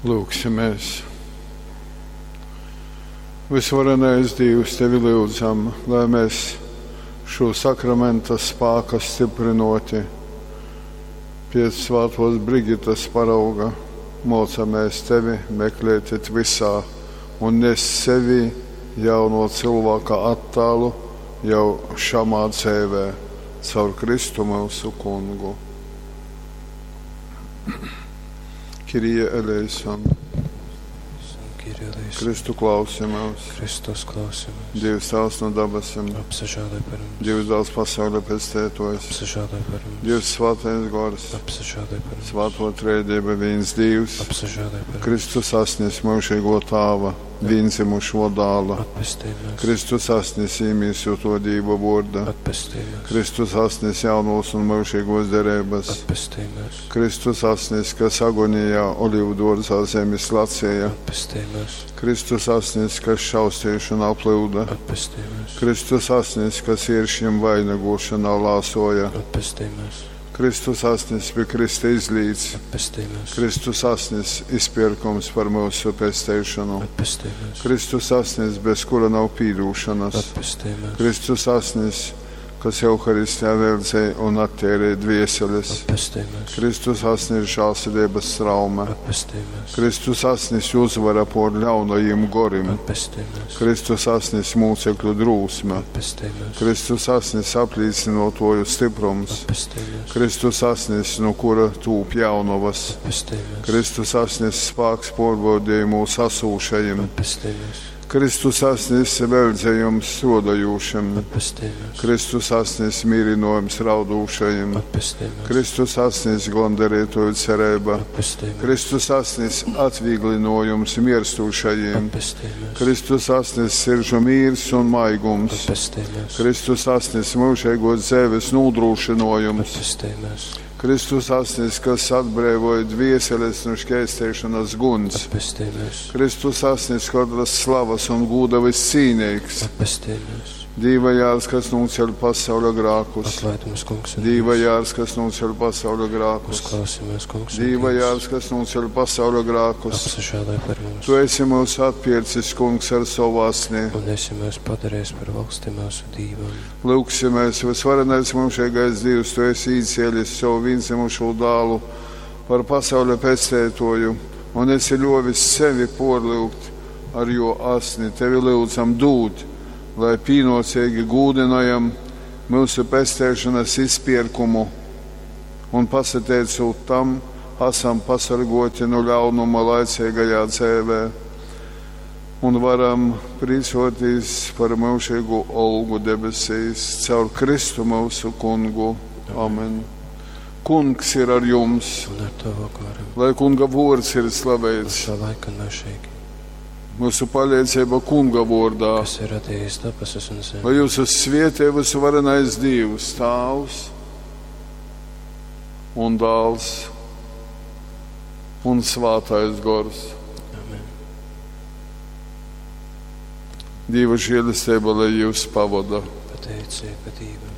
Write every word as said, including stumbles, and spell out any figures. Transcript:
Lūgsimies! Visvarenais Dīvs, Tevi lyudzam, lai mēs šo sakramenta spāka stiprynōti pēc svātōs Brigitas parauga mōcamēs Tevi meklēt it visā un nest sevī jauno cylvāka attālu jau šamā dzeivē. Caur Kristu myusu Kungu. Kyrie eleison. Kyrie eleison. Kristu klausi myus. Kristus klausi mūs. Dievs Tēvs no dabasim. Apsažēloj par mums. Dievs dāls pasauļa pestētojs. Apsažēloj par mums. Dievs svētais gors. Apsažēloj par mums. Svāto trejdieba vīns Dievs. Apsažēloj par mums. Kristus asnis myužīgo tāva, vīndzimušo dāla. Atpestī mūs. Kristus asnis īmīsoto Dīva vorda. Atpestī mūs. Kristus asnis jaunos un myužīgos derības. Atpestī mūs. Kristus asnis, kas agonijā olīvu dārzā zemes lacīja. Atpestī mūs. Kristus asnis, kas šaustīšanā plūda. Atpestī mūs. Kristus asnis, kas ieršņiem vainagošanā lāsoja. Atpestī mūs. Kristus asnis pie Krista izlīdz. Atpestī mūs. Kristus asnis izpirkums par mūsu pesteišanu. Atpestī mūs. Kristus asnis, bez kura nav pīdūšanas. Atpestī mūs. Kristus asnis, kas Euharistijā veldzēja un attērēja dvieseles. Atpestī mūs. Kristus asnis žālsirdības traume. Atpestī mūs. Kristus asnis uzvara pār ļaunajiem gorim. Atpestī mūs. Kristus asnis mūcekļu drūsme. Atpestī mūs. Kristus asnis aplīcinotoju stiprums. Atpestī mūs. Kristus asnis, no kura tūp jaunovas. Atpestī mūs. Kristus asnis spāks pārbaudījumos asūšajiem. Atpestī mūs. Kristus asnis veldzējums strādājošiem. Atpestī mūs. Kristus asnis mīrinojums raudūšajiem. Atpestī mūs. Kristus asnis gondarītoju cerība. Atpestī mūs. Kristus asnis atvieglinojums mirstošajiem. Atpestī mūs. Kristus asnis siržu mīrs un maigums. Atpestī mūs. Kristus asnis mūžīgos dzīves nodrošinojums. Atpestī mūs. Kristus asnis, kas atbrīvoja dvieseles no šķēstēšanas guns. Atpestī mūs. Kristus asnis, katras slavas un gūda viscīnīgs. Atpestī mūs. Dīva jārs, kas nūceļ pasauļa grākus. Atlaid mums, kungs, un Dīva Dievs. jārs, kas nūceļ pasauļa grākus. Uzklausi mūs, kungs, un Dīva Dievs. jārs, kas nūceļ pasauļa grākus. Apsažēloj par mums. Tu esi mūs atpircis, kungs, ar savu asni. Un esi mūs padarījis par valsti mūsu Dīvam. Lūgsimies, visvarenais mūžīgais Dievs, tu esi īcēlis savu vienzimušo dālu par pasauļa pestētoju un esi ļovis sevi porlūgt ar jo asni. Tevi lūdzam dūt, lai pīnocīgi gūdinājam mūsu pestēšanas izpirkumu un pasateicot tam, esam pasargoti no ļaunuma laicīgajā dzēvē un varam priecāties par mūžīgu olgu debesīs caur Kristu mūsu kungu. Amen. Kungs ir ar jums, Un ar tavu garu. lai kunga vārds ir slavēts. Uz šo laiku un mūžīgi. Mūsu palīdzība kunga vārdā. Kas ir radījis debesis un zemi. Lai jūs svietē visvarenais Dievs, Tāvs un Dāls un Svātais Gors. Amen. Dieva žēlastība, lai jūs pavada. Pateicība Dievam.